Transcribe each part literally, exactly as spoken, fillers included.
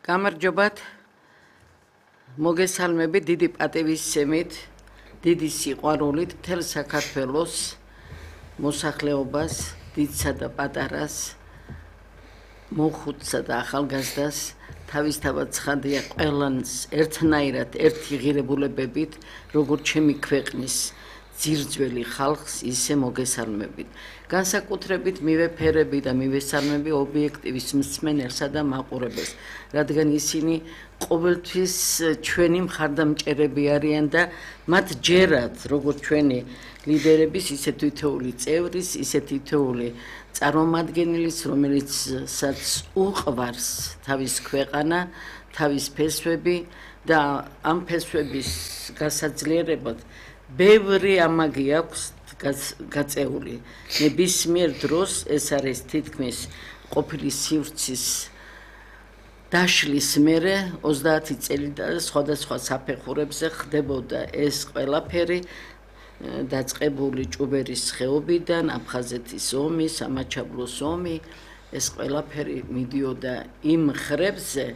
გამარჯობათ მოგესალმები დიდი პატივისცემით, დიდი სიყვარულით მთელ საქართველოს მოსახლეობას, დიდსა და პატარას, მოხუცსა და ახალგაზრდას თავისთავად ცხადია ყველანს ერთნაირად ერთი ღირებულებებით, როგორც ჩემი ქვეყნის ძირძველი ხალხს ისე მოგესალმებით. განსაკუთრებით მივეფერები და მივესალმები ობიექტივის მსმენელსა და მაყურებელს, რადგან ისინი ყოველთვის ჩვენი მხარდამჭერები არიან და მათ ჯერათ, როგორც ჩვენი ლიდერების, ისე თითოეული წევრის, ისე თითოეული წარმომადგენლის, რომელიცაც უყვარს თავის ქვეყანა, თავის ფესვები და ამ ფესვების გასაძლიერებლად ბევრი ამაგი აქვს გაწეული. ნებისმიერ დროს ეს არის თითქმის ყოფილი სივრცის დაშლის მერე ოცდაათი წელი და სხვადასხვა საფეხურებზე ხდებოდა ეს ყველაფერი დაწყებული ჭუბერის ხეობიდან, აფხაზეთის ომი, სამაჩაბლოს ომი, ეს ყველაფერი მიდიოდა იმ ხრებზე,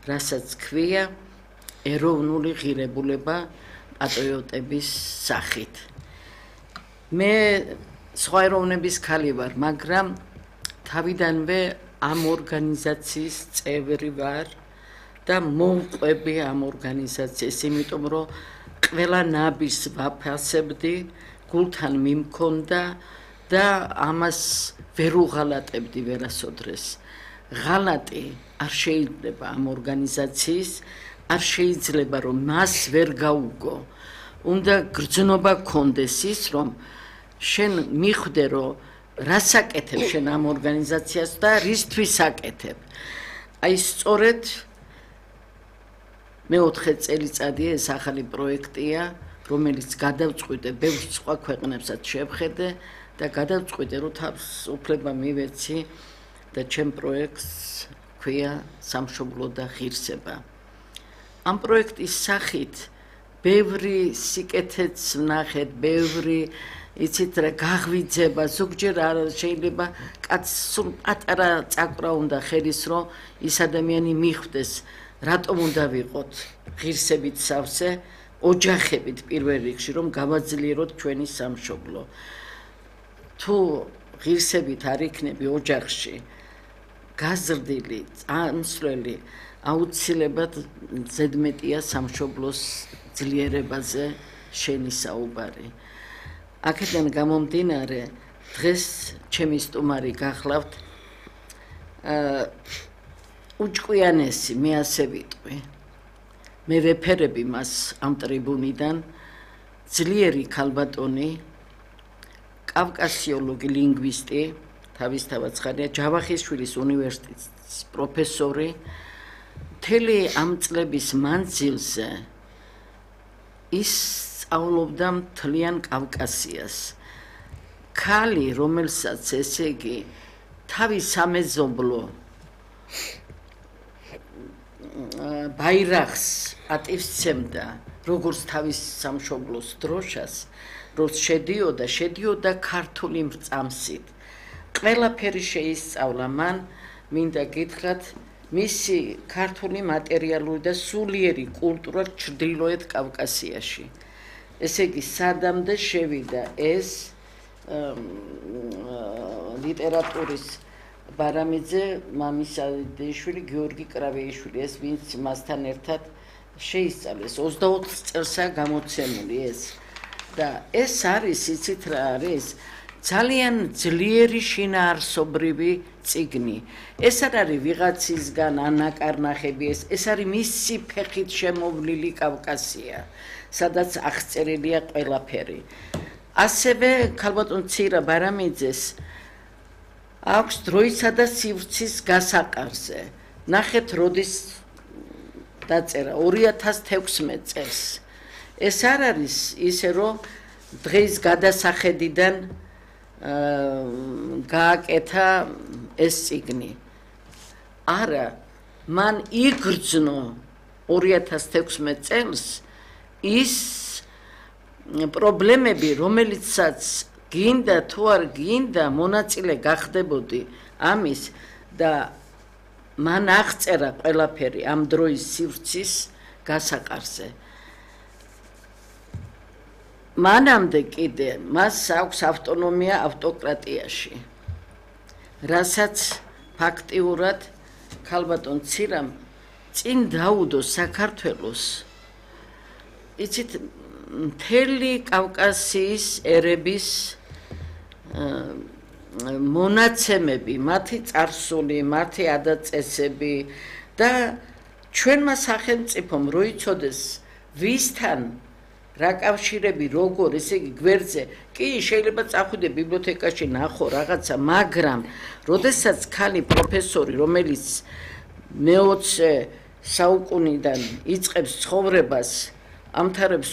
რასაც ქვია ეროვნული ღირებულება პატრიოტების სახით. მე სხვა ეროვნების ქალი ვარ, მაგრამ თავიდანვე ამ ორგანიზაციის წევრი ვარ და მოვყვები ამ ორგანიზაციას, იმიტომ რომ ყველა ნაბის ვაფასებდი, გულთან მიმქონდა და ამას ვერ უღალატებდი ვერასოდეს. ღალატი არ შეიძლება ამ ორგანიზაციის, არ შეიძლება რომ მას ვერ გაუგო. უნდა გრძნობა გქონდეს ის, რომ შენ მიხვდე, რომ რას აკეთებ შენ ამ ორგანიზაციას და რისთვის აკეთებ. აი სწორედ მეოთხე წელიწადია ეს ახალი პროექტია, რომელიც გადავწყვიტე, ბევრ სხვა ქვეყნებსაც შევხედე და გადავწყვიტე, რომ თავს უფლება მივეცი და ჩემ პროექტს ქვია სამშობლო და ღირსება. ამ პროექტის სახით ბევრი სიკეთეც ვნახეთ, ბევრი იცით რა გაღვიძება, ზოგჯერ არ შეიძლება კაცს სულ პატარა წაკვრა უნდა ხელის, რომ ის ადამიანი მიხვდეს, რატომ უნდა ვიყოთ ღირსებით სავსე, ოჯახებით პირველ რიგში, რომ გავაძლიეროთ ჩვენი სამშობლო. თუ ღირსებით არ იქნები ოჯახში, გაზრდილი, წამსვლელი, აუცილებლად ზედმეტია სამშობლოს ძლიერებაზე შენი საუბარი. აქედან გამომდინარე, დღეს ჩემი სტუმარი გახლავთ უჭკვიანესი, მე ასე ვიტყვი. მე ვეფერები მას ამ ტრიბუნიდან, ძლიერი ქალბატონი, კავკასიოლოგი, ლინგვისტი, თავისთავად ცხადია, ჯავახიშვილის უნივერსიტეტის პროფესორი, მთელი ამ წლების მანძილზე ის სწავლობდა მთლიან კავკასიას. ქალი, რომელსაც ესე იგი თავის სამეზობლო ბაირახს ატივსცემდა, როგორც თავის სამშობლოს დროშას, როგორც შედიოდა, შედიოდა ქართული მრწამსით. ყველაფერი შეისწავლა მან, მინდა გითხრათ, მისი ქართული მატერიალური და სულიერი კულტურა ჩრდილოეთ კავკასიაში. ესე იგი, სადამდე შევიდა ეს ლიტერატურის ბარამიძე, მამისა დეიშვილი, გიორგი კრავეიშვილი, ეს ვინც მასთან ერთად შეისწავლეს. ოცდაოთხ წელსა გამოცემული ეს. და ეს არის, იცით რა არის, ძალიან ძლიერი შინაარსობრივი წიგნი. ეს არ არის ვიღაცისგან ანაკარნახები, ეს, ეს არის მისი ფეხით შემოვლილი კავკასია, სადაც აღწერილია ყველაფერი. ასევე ქალბატონ ცირა ბარამიძეს აქვს დროისა და სივრცის გასაყარზე. ნახეთ, როდის დაწერა ორი ათას თექვსმეტ წელს. ეს არ არის ისე, რომ დღის გადასახედიდან გააკეთა ეს წიგნი. არა, მან იგრძნო ორი ათას თექვსმეტ წელს ის პრობლემები, რომელიცაც გინდა თუ არ გინდა მონაწილე გახდებოდი ამის და მან აღწერა ყველაფერი ამ დროის სივრცის გასაყარზე. მანამდე კიდე მას აქვს ავტონომია ავტოკრატიაში, რასაც ფაქტიურად ქალბატონ ცირამ წინ დაუდო საქართველოს. იცით, მთელი კავკასიის ერების მონაცემები, მათი წარსული, მათი ადაწესები და ჩვენმა სახელმწიფომ რო იცოდეს ვისთან რა კავშირები როგორ, ესე იგი გვერდზე, კი შეიძლება წახვიდე ბიბლიოთეკაში ნახო რაღაცა, მაგრამ როდესაც ქალი პროფესორი, რომელიც მეოცე საუკუნიდან იწყებს ცხოვრებას, ამთარებს